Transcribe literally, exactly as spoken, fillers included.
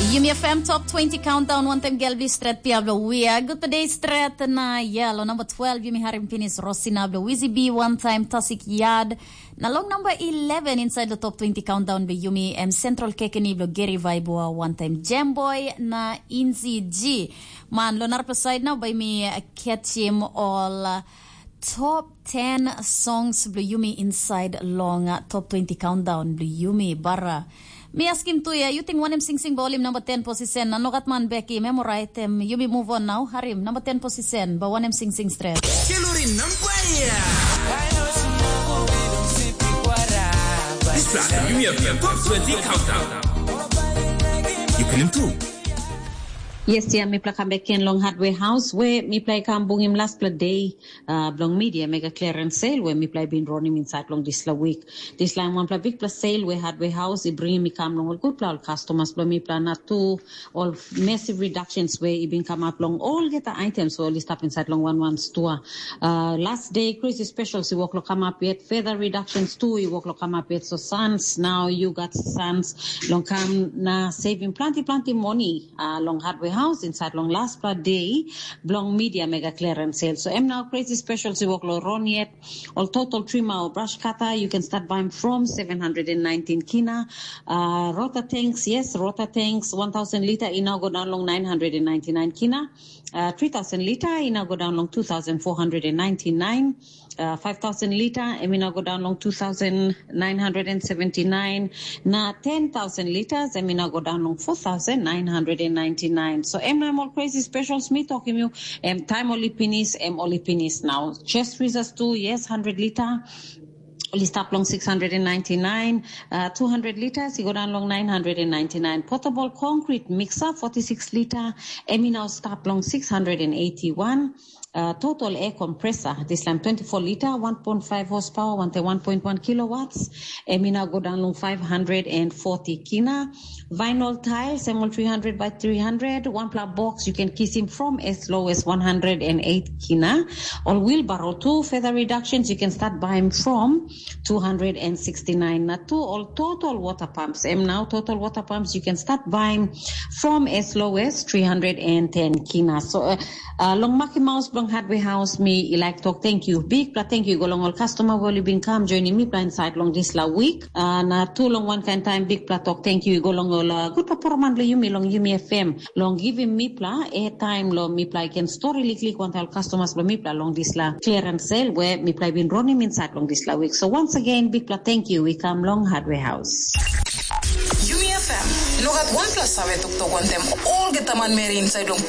Yumi F M Top twenty Countdown, wantaim gel bli stret pia bilong wia. Gutpela de stret na ya, lo number twelve, yumi harim pinis Rosina bilong Wizzy B, wantaim Tasik Yad. Na long number eleven inside the Top twenty Countdown bilong yumi, em Central Kekeni bilong Gary Vaibua, wantaim Jamboy na Inzi G. Man, lo narapela side na bai mi catchim all uh, top ten songs bilong yumi inside long uh, Top twenty Countdown bilong yumi, bara. Mi askim tu ya, yu ting wanem singsing ba olim number ten position, na nogat man beki, memoraite, yumi move on now, harim, number ten position, ba wanem singsing stret. Keluri nampai ya. This time, yumi F M Top twenty Countdown. You can improve. Yes, ya, mipela kam bek ken long Hardware House, we mipela i kam bungim lastpela day uh, bilong media mega clearance sale, we mipela i bin ronim inside long dispela week. Dispela em wanpela bikpela sale we Hardware House i bringim i kam long ol gutpela ol customers bilong mipela na tu ol massive reductions we i bin kamap long olgeta items we ol i stap inside long one one store. Uh, last day crazy specials i wok lo kamap yet, further reductions tu i wok lo kamap yet. So sons, now you got sons long kam na saving plenty plenty money uh, long Hardware House inside long last pla day bilong media mega clearance sale. So em now crazy specials i wok lo ron yet. All total trimmer or brush cutter, you can start buying from seven hundred and nineteen kina. Uh, rota tanks, yes, rota tanks, one thousand liter, i now go down long nine hundred and ninety-nine kina. Uh, three thousand liter, i now go down long two thousand four hundred and ninety-nine. Uh, five thousand liter, em i now go down long two thousand nine hundred and seventy-nine. Na ten thousand liters, em i now go down long four thousand nine hundred and ninety-nine. So em na em all crazy specials mi talking you, em time only penis, em only penis now. Chest freezers too, yes, hundred liter. Only start long six hundred and ninety-nine, uh, two hundred liters, you go down long nine hundred and ninety-nine. Portable concrete mixer, forty-six liter, em i now start long six hundred and eighty-one. Uh, total air compressor, this line twenty-four liter, one point five horsepower, one, one point one kilowatts, em i now go down long five hundred and forty kina. Vinyl tiles, M L three hundred by three hundred, one pla box, you can kiss him from as low as one hundred and eight kina. Or wheelbarrow too, further reductions, you can start buying from two hundred and sixty-nine. Na two all total water pumps, em now total water pumps, you can start buying from as low as three hundred and ten kina. So, uh, uh, long Maki Mouse, long Hardware House, me, I like talk thank you. Big pla thank you, go long all customer who have been come joining me pla inside long this la week. Uh, na too long one kind time, big pla talk thank you, go long all uh, good performance, long Yumi, long Yumi F M, long giving me pla air time, long me pla, I can story liklik one tell customers, long me pla, long this la clearance sale, where me pla been running inside long this la week. So once again, big pla thank you, we come long Hardware House. Yumi F M, no gat wanpela save toktok wantem olgeta manmeri inside long